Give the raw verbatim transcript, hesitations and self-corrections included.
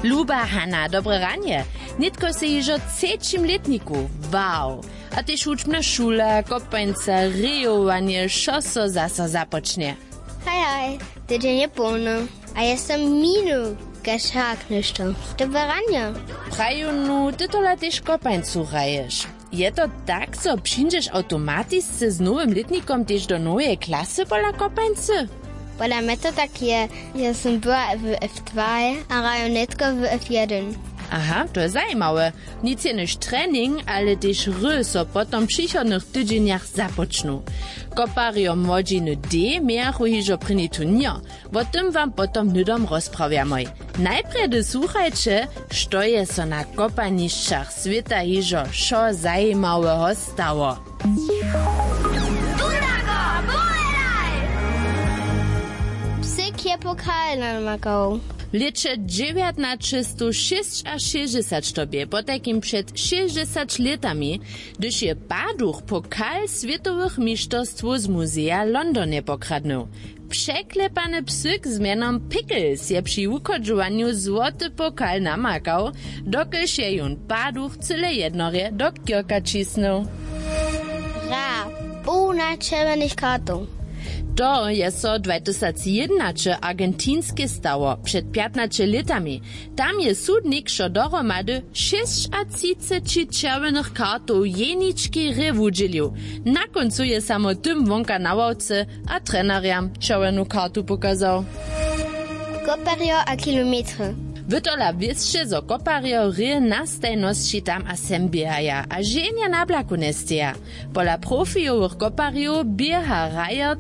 Luba Hana, dobre ranje. Nětko sej hižo w třećim lětniku. Wow. A tež wučbna šula, kopańca, rejowanje, wšo so zaso započnje. Haj haj, tydźeń je połny. A ja som minuł, kaž hak něšto. Dobre ranje. Praju nu, ty tola tež kopańcu hraješ. Je to tak, zo přińdźeš awtomatisce z nowym lětnikom tež do noweje klasy pola kopańcy? Pola mje to tak je. Ja som była w f dwa a hraju nětko w f jedyn. Aha, to je zajimawe. Nic jenož trening, ale tež hry so potom w přichodnych tydźenjach započnu. Koparjo młodźiny d mějachu hižo prěni turněr. Wo tym wam potom hnydom rozprawjamoj. Najprjedy słuchajće, što je so na kopanišćach swěta hižo wšo zajimaweho stało. Psyk je pokal namakał. W lěće dźewjatnaćestowšěsćašěsćdźesat, to bě potajkim před šěsćdźesat lětami, hdyž je Paduch pokal swětowych mišterstwow z muzeja w Londonje pokradnył. Překlepany psyk z mjenom Pickles je při wuchodźowanju złoty pokal namakał, dokelž je jón Paduch cyle jednorje do kěrka ćisnył. Ra, połna čerwjenych kartow. To je so dwatysacjědnaće argentinske stało před pjatnaće lětami. Tam je sudnik wšo dohromady šěsćatřiceći čerwjenych kartow jeničkej hrě wudźělił. Na kóncu je samo tym wonka na ławce a trenerjam čerwjenu kartu pokazał. Koparjo a kilometry. Wy tola wěsće, zo koparjo hrě na stajnosći tam a sem běhaja a ženja na blaku njesteja. Pola profijowych koparjow běha hrajer